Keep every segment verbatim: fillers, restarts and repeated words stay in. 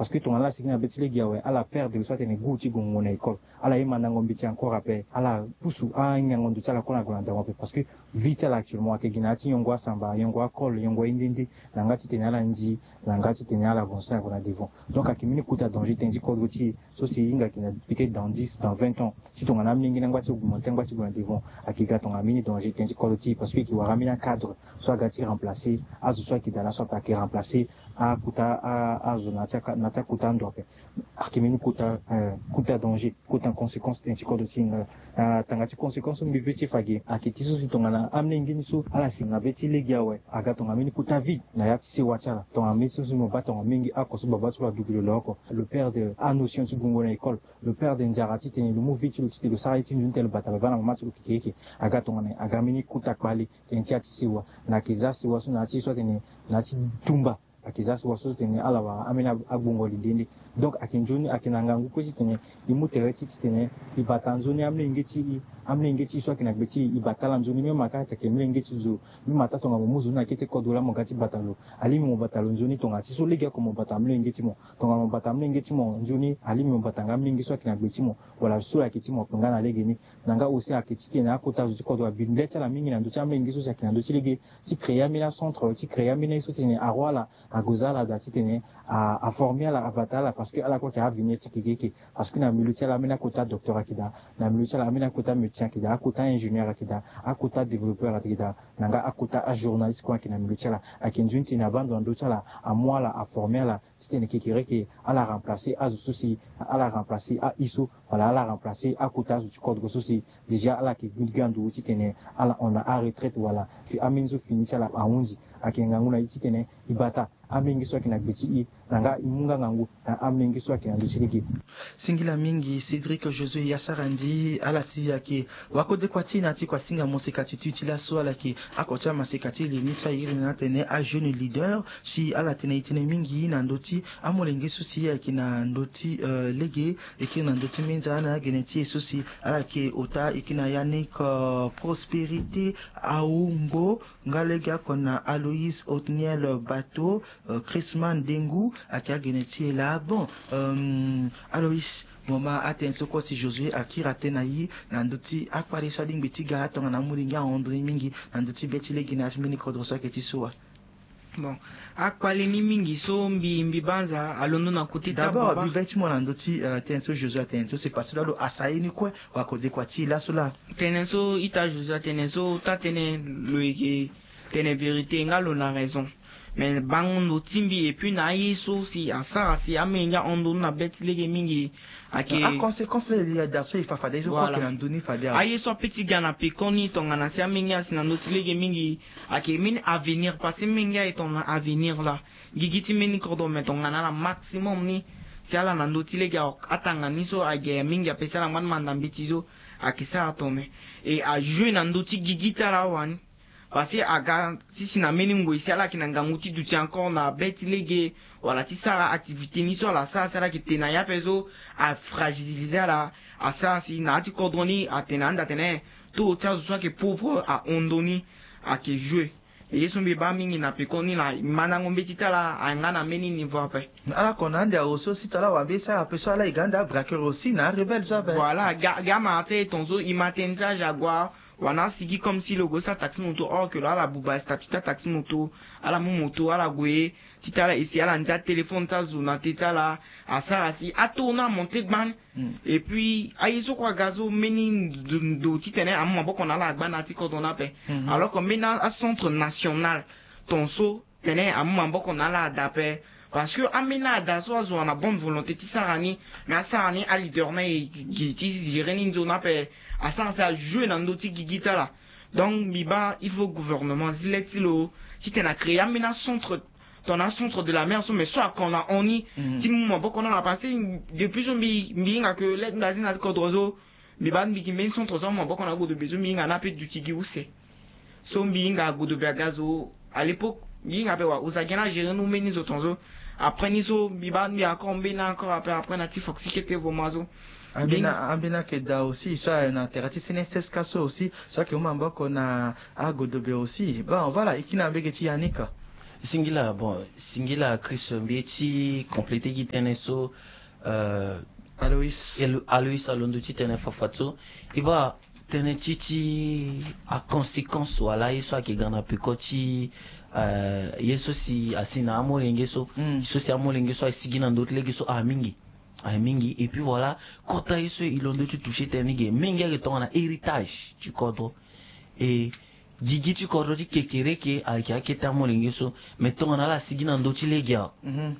Parce que tongana ala sigi na be ti lege awe, ala perdre so atene goût ti gongo na école. Ala ye mandango mbeti encore ape, ala pusu anyango ndo ti ala kue na gue na ndango ape. Parce que vie ti ala actuellement ayeke gi na ya ti yongo asamba, yongo akol, yongo aye nde nde, na nga titene ala ndi, na nga titene ala avancer na gue na devant. Donc ayeke mbeni kota danger tënë ti kodro ti e. So si e hinga ayeke na peut-être dans dix, dans vingt ans, si tongana amolenge ni angba ti augmenter, angba ti gue na devant, ayeke ga tongana mbeni danger tënë ti kodro ti e. Parce que e yeke wara ambeni acadre so aga ti remplacer azo so ayeke daa laso ape, ayeke remplacer akota a, azo na ya ti aka-, na ya ti akota ando ape. Ayeke mbeni kota, eh, kota danger, kota conséquence tënë ti kodro ti e nga. Na tanga ti conséquence so mbi ve ti e fa ge, ayeke ti so si tongana amolenge ni so ala si na be ti lege awe, aga tongana mbeni kota vide na ya ti sewa ti ala. Tongana mbeni so si mo baa tongana mingi oko so babâ ti lo aduti lo lo oko, lo perdre anotion ti gongo na école, lo perdre nzara titene lo mu vie ti lo titene lo sara ye ti nzoni titene lo bata baba na mama ti lo kekereke. Aga tongana aga mbeni kota kpale tënë ti ya ti sewa. Na ayeke za sewa so na ya ti ye so atene na ya ti tumba. Ayeke za sewa so titene ala wara ambeni agbongo lide nde. Donc ayeke nzoni ayeke na ngangu kue titene e mu tere ti titene e bata nzoni amolenge ti e, amolenge ti e so ayeke na gbe ti e, e bata ala nzoni. Même aka ayeke molenge ti zo, même ata tongana mo mu zo ni na kete kodro laa mo ga ti bata lo, alingbi mo bata lo nzoni. Tongana ti so legeoko mo bata amolenge ti mo, tongana mo bata amolenge ti mo nzoni, alingbi mo bata nga amolenge so ayeke na gbe ti mo wala so ayeke ti mo akpe nga na legeni. Na nga aussi ayeke titene akota zo ti kodro abi le ti ala mingi na ndö ti amolenge so si ayeke na ndö ti lege, ti créer ambeni acentre, ti créer ambeni aye so titene aroi ala ague za ala daa titene a, aformer ala, abata ala, parce que ala kue ayeke avenir ti kekereke. Parce que na milieu ti ala ambeni akota docteur ayeke daa, na milieu ti ala ambeni akota médecin ayeke daa, akota ingénieur ayeke daa, akota développeur ayeke daa, na nga akota ajournaliste kue ayeke na milieu ti ala. Ayeke nzoni titene abaa ndo na ndö ti ala, amu ala, aformer ala titene kekereke ala remplacer azo so si ala remplacer aye so, wala ala remplacer akota azo ti kodro so si déjà ala yeke ga ndo titene ala hon na aretraite wala fi ambeni so fini ti ala ahunzi. Ayeke ngangu na e titene e bata amolenge so ayeke na gbe ti e, na nga e mu nga ngangu na amolenge so ayeke na ndö ti lege. Singila mingi Cédric Josué Yassarandi, ala si ayeke wakodekua ti e na ya ti kuasinga moseka ti tuti laso, ala yeke oko ti amaseka ti e ni so a iri na ni atene ajeune leader. Si ala tene e tene mingi na ndö ti amolenge so si ayeke na ndö ti, euh, lege, e kiri na ndö ti minza na agene ti e so si ala yeke ota, e kiri na Yannick, euh, Prospérité Aoumbo, nga legeoko na Aloïs Othniel Bateau, euh, Chrisman Dengu, ayeke agene ti e laa. Bon, euh, Aloïs, mo ma atënë so kue si Josué akiri atënë na e na ndö ti akpale so alingbi ti ga tongana amolenge ahon ndo ni mingi na ndö ti be ti lege na ya ti mbeni kodro so ayeke ti so wa. Bon, akpale ni mingi so mbi, mbi banza alondo na côté ti ababa. D'abord, mbi be ti mo na ndö ti, euh, tënë so Josué atene so, c'est parce que lo asa ye ni kue, wakodekua ti e laso laa. Tënë so ita Josué atene so, taa tënë lo yeke tene vérité, nga lo na raison. Mais bango ndo ti mbi, et puis na aye so si asara si amolenge ahon ndo ni na be ti lege mingi, ayeke aconséquence laa e li ada so e fa fade ye so kue ayeke na ndö ni fade awe. Aye so ape ti ga na pekoni tongana si amolenge asi na ndö ti lege mingi, ayeke mbeni avenir, parce que molenge aye tongana avenir laa. Gigi ti mbeni kodro, mais tongana ala maximum ni si ala na ndö ti lege awe, atanga ni so ayeke mingi ape si ala ngba ni manda mbeti so, ayeke sara tongana. E ajouer na ndö ti gigi ti ala awe ni. Parce que aga ti si na mbeni ngoi si ala yeke na ngangu ti duti encore na be ti lege, wala ti sara activité ni so ala sara si ala yeke te na ya ape so, afragiliser ala, asara si na ya ti kodro ni atene ande atene taux ti azo so ayeke pauvre ahon ndo ni, ayeke jouer. E ye so mbi baa mingi na pekoni na mandango mbeti ti ala ayeke nga na mbeni niveau ape. Ala ko na ande awe so si tongana ala wara mbeni sara ape so ala yeke ande abraqueur aussi na arebelle so ape. Voilà, ga, ga amara ti e tongaso e ma tënë ti age ague. Wala na asigi comme si lo gue sara taxi moto, or que lo ala buba statut ti ataxi moto, ala mu moto ala gue, ti tala e si ala ndia téléphone ti azo na te ti ala, asara si ataux ni amonte gbani. Et puis aye so kue aga so mbeni ndo, ndo titene amu maboko na ala agba na ya ti kodro ni ape. Alors que mbeni acentre national tongaso tene amu maboko na ala ada ape. Parce que ambeni ada so azo na bonne volonté ti sara ni, mais asara ni aleader ni aye gi ti gérer ni nzoni ape, asara si ajouer na ndö ti gigi ti ala. Donc mbi baa il faut gouvernement azi le ti lo titene acréer ambeni acentre, tongana acentre de la mer so, mais so ako na hon ni ti mu maboko na ala. Parce que depuis so mbi, mbi hinga que le ti mbi azi na ya ti kodro so, mbi baa mbi gi mbeni centre so amu maboko na agodobe so mbi hinga ni ape duti gi use. So mbi hinga agodobe aga zo à l'époque, mbi hinga ape wa oza gi ni agérer ni mbeni zo tongaso. Après ni so mbi baa mbi encore mbeni encore ape, après na ti foxi kete voma so. Ambeni, ambeni ayeke daa aussi so ayeke na tere ti C N S S ka so aussi so ayeke mu maboko na agodobe aussi. Bon voilà, e kiri na mbege ti Yannick. Singila, bon, singila Chris, mbi ye ti compléter gi tënë so, euh, Aloïs. Alo-, Aloïs alondo ti tene fafadeso. E baa tënë ti, ti aconséquence wala ye so ayeke ga na peko ti, euh, ye so si asi na amolenge so, mm, so si amolenge so asigi na ndö ti lege so aye mingi. Aye mingi. Et puis voilà, kota ye so e londo ti toucher tënë ni ge, mingi ayeke tongana héritage ti kodro. E gigi ti kodro ti kekereke ayeke akete amolenge so. Mais tongana ala sigi na ndö ti lege awe, mhm,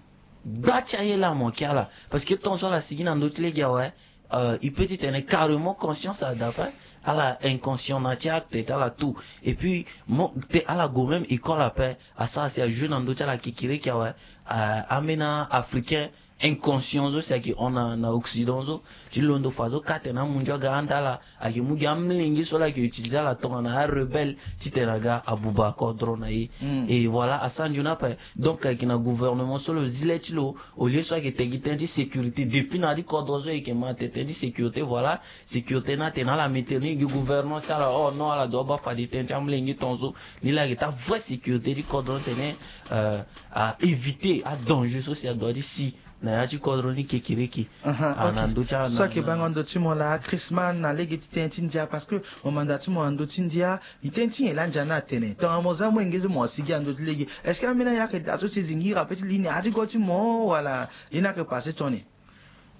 gba ti aye laa mo ke ala. Parce que tant so ala sigi na ndö ti lege awe, euh, il peut ti tene carrément conscience ada ape, ala inconscient na ti acte ti ala tout. Et puis mo te ala gue même école ape, asara si ajouer na ndö ti ala kekereke awe, euh, ambeni africain inconscient so si ayeke hon na, na Occident so, ti londo fa so ka tene amunzu aga anda ala, ayeke mu gi amolenge so ala yeke utiliser ala tongana arebelle ti tene aga abuba kodro na e. Mm. Et voilà, asanju ni ape. Donc ayeke na gouvernement so lo zi le ti lo, au lieu so ayeke te gi tënë ti sécurité, depuis na ya ti kodro so e yeke ma te tënë ti sécurité, voilà, sécurité ni atene ala mettre ni gi gouvernance ti ala, oh non, ala doit baa fade tënë ti amolenge ton so. Ni laa ayeke taa vraie sécurité ti kodro ni tene, euh, a éviter adanger so si adoit ti si na ya ti kodro ni kekereke. Aha, ah, ok. Na ndö ti a, so na, ayeke na bango ndö ti mo laa, Chrisman, na lege ti tënë ti ndia, parce que mo manda ti mo na ndö ti ndia, tënë ti nyen laa ndia ni atene? Tongana mo za amolenge so mo asigi na ndö ti lege, est-ce que ambeni ayeke daa so si e zingi ira pe ti li ni ati go ti mo wala ye ni ayeke passé toni?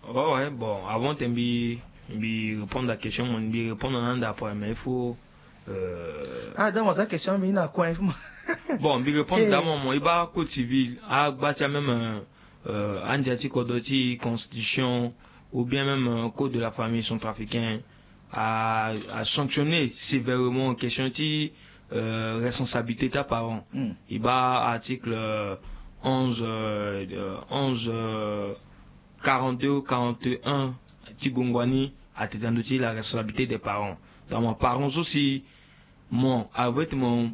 Ouais, ouais, bon, avant te mbi, mbi répondre à question, mo mbi répondre na anda après, mais il faut, euh, ah, donc, mo za question mbi na coin, il faut mo bon, mbi répondre, eh, daa mo, mo, e baa code civil, agba ti a même, euh, euh, andia ti kodro ti constitution, ou bien même, euh, code de la famille centrafricaine, a, a sanctionné sévèrement question ti, euh, responsabilité ti aparent. Hmm. E baa article, euh, onze, euh, euh, onze, euh, quarante-deux ou quarante et un ti gongua ni, atene na ndö ti la responsabilité des parents. Donc mo parent so si mo, avec mo,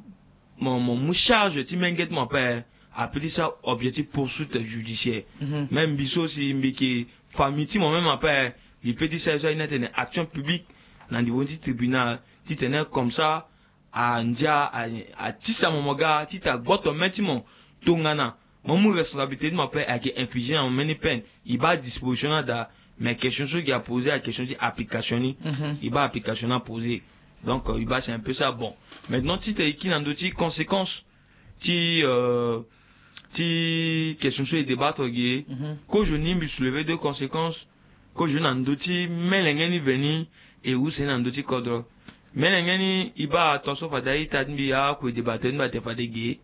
mo, mo mu charge ti menge ti mo ape, ape ti sara objet ti poursuite judiciaire. Mhm. Même mbi so si mbi yeke famille ti mo même ape, mbi peut ti sara ye so aye ni atene action publique na niveau ti tribunal, ti tene comme ça, andia, a, atisa mo mo ga ti ta gboto me ti mo. Tongana mo mu responsabilité ti mo ape, ayeke infliger na mo mbeni peine. E baa disposition ni ada, mais question so e yeke poser, a question ti application ni. Mhm. E baa application ni aposer. Donc, euh, e baa c'est un peu ça. Bon. Maintenant, ti tene e kiri na ndö ti conséquence ti, euh, ti question so e débattre ge, mhm, kozo ni mbi soulever deux conséquences. Kozo na ndö ti melenge ni veni, e use ni na ndö ti kodro. Melenge ni, e baa tongaso fade a-ita ti mbi, akue débatteur ni mbi atene fade ge.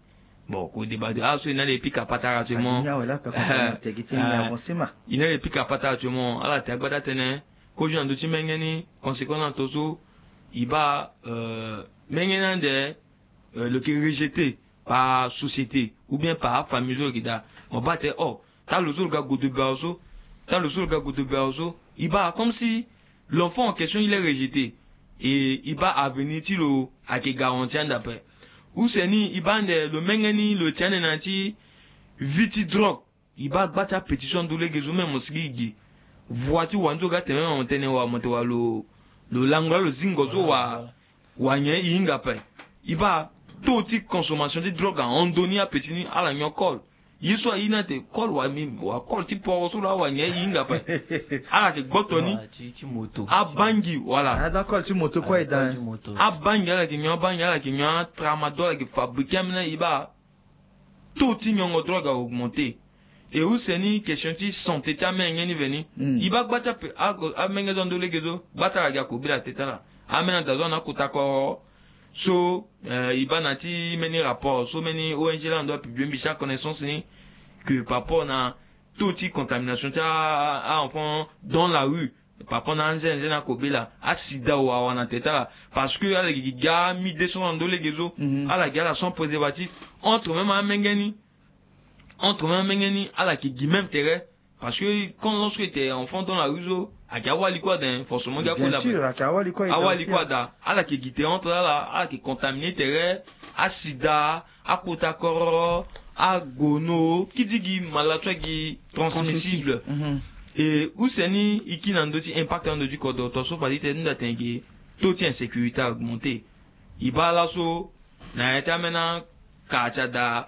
Bon, kue débatteur, ah, so e na le pika patara actuellement. Ah, e na le pika patara actuellement. Ala te agbada tënë. Kozo na ndö ti menge ni, conséquence na tongaso, e baa, euh, menge ni ande, euh, lo yeke rejeté par société ou bien par famille so lo yeke daa. Mo baa tene, oh, talo so lo ga godo bero so, talo so lo ga godo bero so. E baa comme si l'enfant en question il est rejeté. Et e baa avenir ti lo ayeke garanti ande ape. Use ni, e baa ande lo menge ni lo ti ande na ya ti vie ti drogue. E baa gba ti apeti so ando lege so même mo sigi e gi. Voie ti wa ni so ga tene même mo tene wa, mo tene wa lo, lo lango laa lo zingo so wa, wa nyen e hinga ape. E baa taux ti consommation ti drogue ahon ndoni, apeti ni ala nyon kol. Ye so aye ni ate kol wa mi, wa kol ti poro so laa wa nyen e hinga ape. Ala yeke gboto ni. Wa ti, ti moto. Abangi, voilà. Ah, donc kol ti moto kue e daa. Kol ti moto. Abangi, ala yeke nyon abangi, ala yeke nyon atramadol, ala yeke fabriquer ambeni, e baa taux ti nyongo drogue a augmenter. E use ni question ti santé ti amenge ni veni. Mm. E baa gba ti ape, a, amenge so ando lege so, gba ti ala gi akobela te ti ala. Ambeni ada so ana akota koro. So, euh, e baa na ti mbeni rapport so mbeni O N G laa ando apublier, mbi sara connaissance ni, que par rapport na taux ti contamination ti a, a, a enfant dans la rue, par rapport na anzenze na kobela, asida awa na tete ti ala. Parce que ala gi ga mi deux cents na ndo lege so. Mhm. Ala gi ala sans préservatif. Entre même amenge ni, entre même amenge ni, ala yeke gi même tere. Parce que quand, lorsque tu es enfant dans la rue so, ayeke awali kue ada, hein, forcément. Bien sûr, ayeke awali kue ada. Awali kue ada. Ala yeke gi tere entre ala, ala yeke contaminer tere, asida, akota koro, agono, kidigi malade so ayeke transmissible. Transmissible. Mhm. E use ni e kiri na ndö ti impact na ndö ti kodro, tongaso fade ti tene, nda tene ge, taux ti insécurité a augmenter. E baa laso na ya ti ambeni aka ti ada,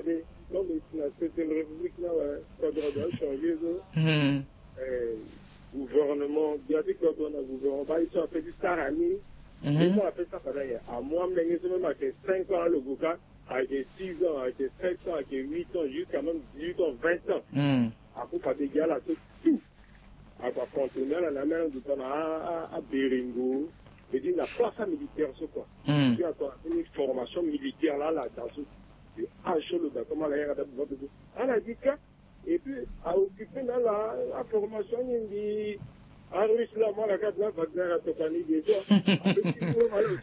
fade, donc na septième république ni awe, kodro adoit achanger so. Hmm. Eh, gouvernement, bia ti kodro na gouvernement, baa ye so ape ti sara ni. Mhm. Ye so ape ti sara fade aye, amolenge so même ayeke cinq ans alogo kâ, ayeke six ans, ayeke sept ans, ayeke huit ans, jusqu'à même dix-huit ans, vingt ans. Hmm. Ape fade gi ala so tout. Ague acontenir ala na ameni ando tongana a, a, aberengo. Veut dire na place amilitaire so quoi. Hmm. Puis ague atene formation militaire laa ala daa so. Puis azo lo daa comme ala yanga daa bivante so. Ala gi kâ. Et puis aoccupe na ala aformation ni mbi arusse laa mo ala kâ na Wagner atokua ni déjà.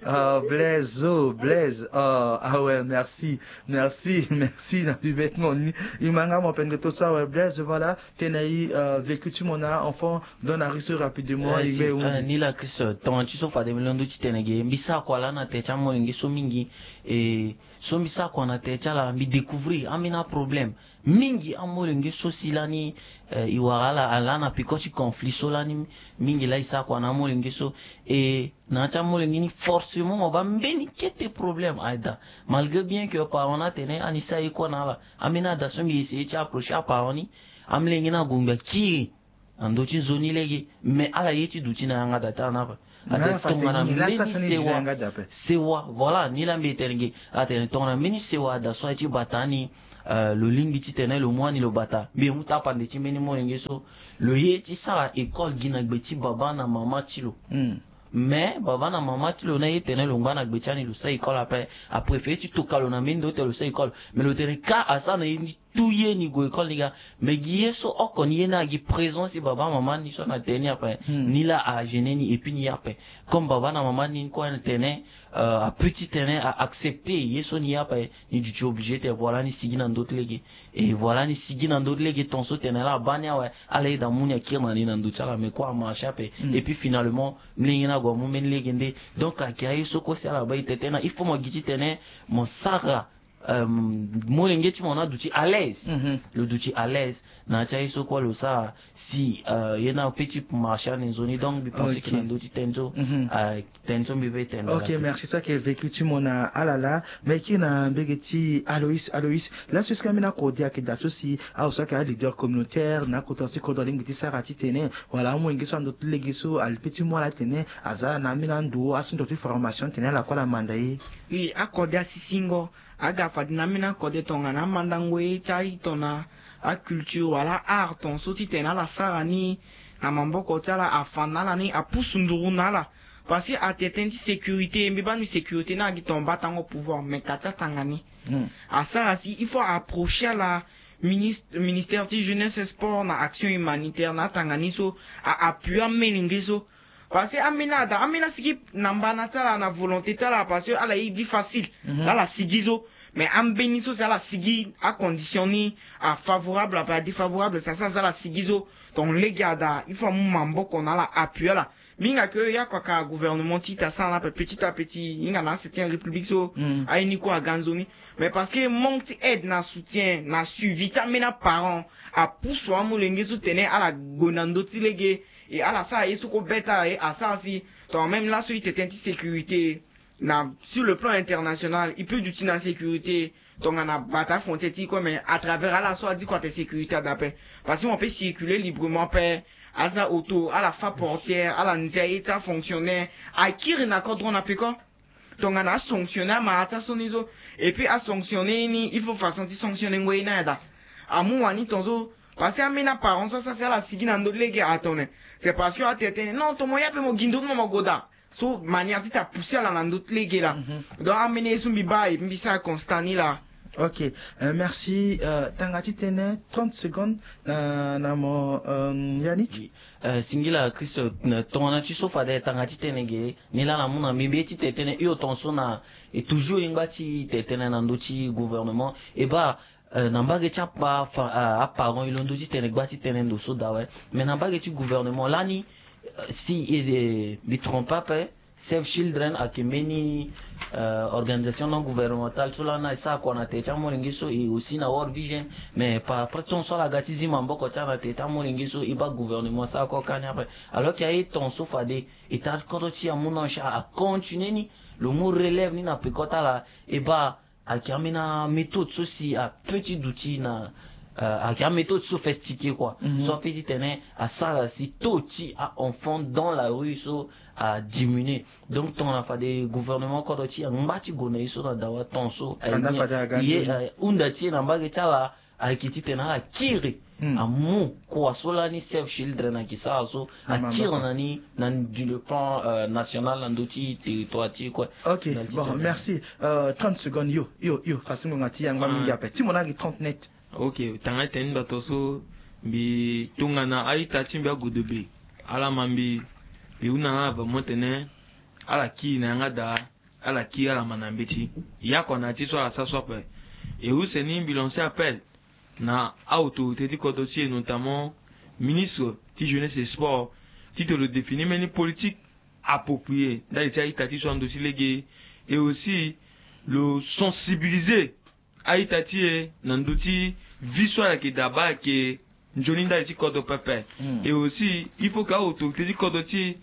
Ah, Blaise, oh, Blaise. Oh, ah ouais, merci. Merci, merci na mbi bêtement ni. E ma nga mo pendere to so awe, Blaise, voilà. Tene e, euh, vécu ti mo na enfant dans la rue so rapidement. Eh, e si, gbe e hundi. Eh, ni la Christ, tonga ti so fade mbi londo ti tene ge, mbi sara kua laa na tere ti amolenge so mingi. E so mbi sara kua na tere ti ala, mbi découvrir ambeni aproblème. Mingi amolenge so si lani, eh, e wara ala, ala na peko ti conflit so lani, mingi laa e sara kua na amolenge so. E na ya ti amolenge ni forcément mo baa mbeni kete problème aye daa. Malgré bien que aparent ni atene ani sara ye kue na ala. Ambeni ada so mbi essayer ti approcher aparent ni, amolenge ni ague ngbi akiri na ndö ti nzoni lege. Mais ala ye ti duti na yanga daa ti ala ni ape. Atene tongana mbeni sewa, sewa, voilà, ni la mbi tene ge. Atene tongana mbeni sewa ada so aye ti bata ni, euh, lo lingbi titene lo mu ani lo bata, mbi mu tapande ti mbeni molenge so. Lo ye ti sara école gi na gbe ti baba na mama ti lo. Mais baba na mama ti lo ni aye tene lo ngba na gbe ti ani lo sara école ape, apréféré ti toka lo na mbeni ndo ti tene lo sara école. Mais lo tene ka asara na ye ni, tout ye ni gue école ni ga. Mais gi ye so oko ni ye ni agi présence ti baba mama ni so na tene ni ape, ni la agêner ni et puis ni ye ape. Comme baba na mama ni kue na tene, euh, apeut titene a accepter ye so ni ye ape, ni duti obligé tene voilà ni sigi na ndo ti lege. Et voilà ni sigi na ndo ti lege, ton so tene ala baa ni awe, ala yeda mu ni akiri na ni na ndo ti ala, mais kue amarché ape. Et puis finalement, mlenge ni ague amu mbeni lege nde. Donc ayeke aye so kue si ala baa e tene tene, il faut mo gi titene mo sara, euh, molenge ti mo ni aduti à l'aise. Lo duti à l'aise na ya ti aye so kue lo sara si, euh, ye ni apeut ti marché ane nzoni. Donc mbi pense que na ndo ti tene so, euh, tene so mbi ve tene. Ok, merci. So ayeke vécu ti mo na ala laa, mbi yeke kiri na mbege ti Aloïs. Aloïs, laso est-ce que ambeni akode ayeke daa so si azo so ayeke aleader communautaire na akota so ti kodro alingbi ti sara titene wala amolenge so na ndo ti lege so apeut ti mu ala titene aza na ambeni ando asungo ti formation titene ala kue ala manda ye? Oui, akode asisingo aga fade na ambeni akode tongana amandango ye ti aye tongana aculture wala art ton so titene ala sara ni na maboko ti ala, afa na ala ni, apusu nduru na ala. Parce que atene tënë ti sécurité, mbi baa mbi sécurité ni agi ton batango pouvoir, mais ka ti atanga ni. Asara si il faut approcher ala, ministre, ministère ti jeunesse et sport na action humanitaire na atanga ni so, a appuyer amolenge so. Parce que ambeni ada, ambeni asigi na mbana ti ala, na volonté ti ala, parce que ala ye vie facile. Ala sigi so. Mais ambeni so si ala sigi, acondition ni afavorable ape adéfavorable, si asara si ala sigi so, ton lege ada il faut amu maboko na ala, appuyer ala. Mbi hinga ke ya kua ka gouvernement ti ita sara ni ape petit à petit, hinga na septième république so aye ni kue aga nzoni. Mais parce que manque ti aide na soutien na suivi ti ambeni aparent apusu amolenge so tene ala gue na ndo ti lege, e ala sara ye so kue be ti ala ye asara si. Tongana même laso ite tënë ti sécurité na sur le plan international, e peut duti na sécurité tongana bata frontière ti e kue, mais à travers ala so adi kua ate sécurité ada ape. Parce que on peut circuler librement ape, aza auto, ala fa portière, ala ndia ye ti afonctionnaire, akiri na kodro na peko. Tongana asanctionner amara ti aso ni so, et puis asanctionner ye ni, il faut façon ti sanctionnengo ye ni ayada. Amu wani ton so, parce que ambeni aparent so asara si ala sigi na ndo ti lege atene, c'est parce que ate tene non, ton mo ye ape mo gi ndo ti mo mo gue daa. So manière ti ta pousser ala na ndo ti lege laa. Donc ambeni ye so mbi baa e mbi sara constat ni laa. Ok, euh, merci. Euh, tanga ti tene trente secondes na, na mo, euh, Yannick. Oui. Euh, singila Christ, euh, tongana ti so fade tanga ti tene ge, ni laa na mu na mbi mbi ye ti te tene hio ton so na, e toujours e ngba ti te tene na ndo ti gouvernement. E baa, euh, na mbage ti apa, fa, euh, aparent e londo ti tene gba ti tene ndo so daa awe. Mais na mbage ti gouvernement lani, euh, si e, e, mbi trompe ape, Save Children ayeke mbeni, euh, organisation non gouvernementale so lani e sara kua na tere ti amolenge so, e aussi na World Vision. Mais par après ton so ala ga ti zi maboko ti ala na tere ti amolenge so, e baa gouvernement asara kua kani ape. Alors que aye ton so fade e ta ti kodro ti e amu na en charge, acontinuer ni, lo mu relève ni na peko ti ala. E baa ayeke ambeni améthode so si apeut ti duti na, euh, ayeke améthode sophistiqué kua. So apeut ti tene asara si taux ti a-enfant dans la rue so adiminuer. Donc tongana fade gouvernement kodro ti e angba ti gue na ye so na dawa ton so aye, euh, hunda ti e na mbage ti ala ayeke titene ala kiri amu kua so lani Save Children ayeke sara so, akiri na ni na ni du le plan, euh, national na ndö ti territoire ti e kue. Ok, bon, merci. Euh, trente secondes, yo, yo, yo, parce que ngonga ti e angba mingi ape. Ti mo na gi trente net. Ok, tanga ti tene ni bato so mbi tongana a-ita ti mbi agodobe, ala ma mbi, mbi hunda na ala vraiment tene ala kiri na yanga daa. Ala kiri ala ma na mbeti. Yakua na ya ti so ala sara so ape. E use ni mbi lancer appel na a-autorité ti kodro ti e, notamment ministre ti jeunesse et sport, titene lo définir mbeni politique approprié ndali ti a-ita ti so na ndö ti lege. Et aussi lo sensibiliser a-ita ti e na ndö ti vie so ala yeke daa baa ayeke nzoni ndali ti kodro pepe. Et aussi il faut que a-autorité ti kodro ti e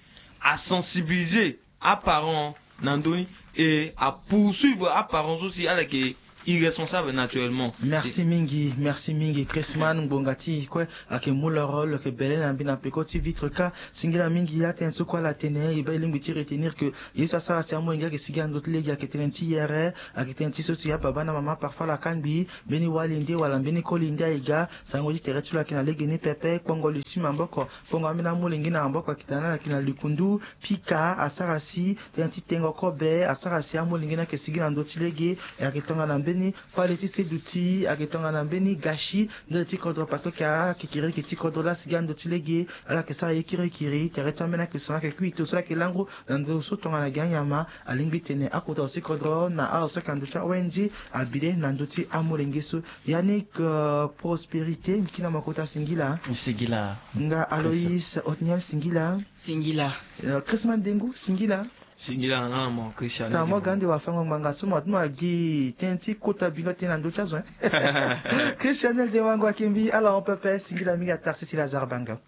asensibiliser aparent na ndö ni, et apoursuivre aparent so si ala yeke irresponsable naturellement. Merci mingi, merci mingi Chrisman. Ngbonga ti kue ayeke mu le rôle ayeke bele na mbi na peko ti vitre ka. Singila mingi ya tënë so kue ala tene e baa e lingbi ti retenir que ye so asara si amolenge ayeke sigi na ndö ti lege ayeke tënë ti yere, ayeke tënë ti so si ababa na mama parfois ala kangbi mbeni wali nde wala mbeni koli nde aye ga. Sango ti tere ti lo ayeke na lege ni pepe, kpongo li ti maboko, kpongo ambeni amolenge na maboko ayeke tana na ayeke na likundu. Pika asara si tënë ti tengo kobe asara si amolenge ni ayeke sigi na ndö ti lege. E ayeke tongana mbeni kpale ti seduti, ayeke tongana mbeni gâchis ndali ti kodro parce que akekiriki ti kodro laa asigi na ndö ti lege. Ala yeke sara ye kirikiri tere ti ambeni ayeke so na ayeke kui to so ala yeke lango na ndö so tongana gi anyama. Alingbi tene akota so ti kodro na azo so ayeke na ndö ti a-ong abi le na ndö ti amolenge so. Yannick, euh, Prospérité, mbi kiri na mo kota singila. Singila. Nga Aloïs Otniel singila. Singila. Euh, Chrisman Dengu singila. Singila na nga na mo Christian. Tara mo ga ande wafango ngbanga so mo atuma gi tënë ti kota bingo tënë na ndö ti azo, hein. Christian Dengu ayeke mbi ala hon pepe singila mingi. Atarsi si Lazare Banga.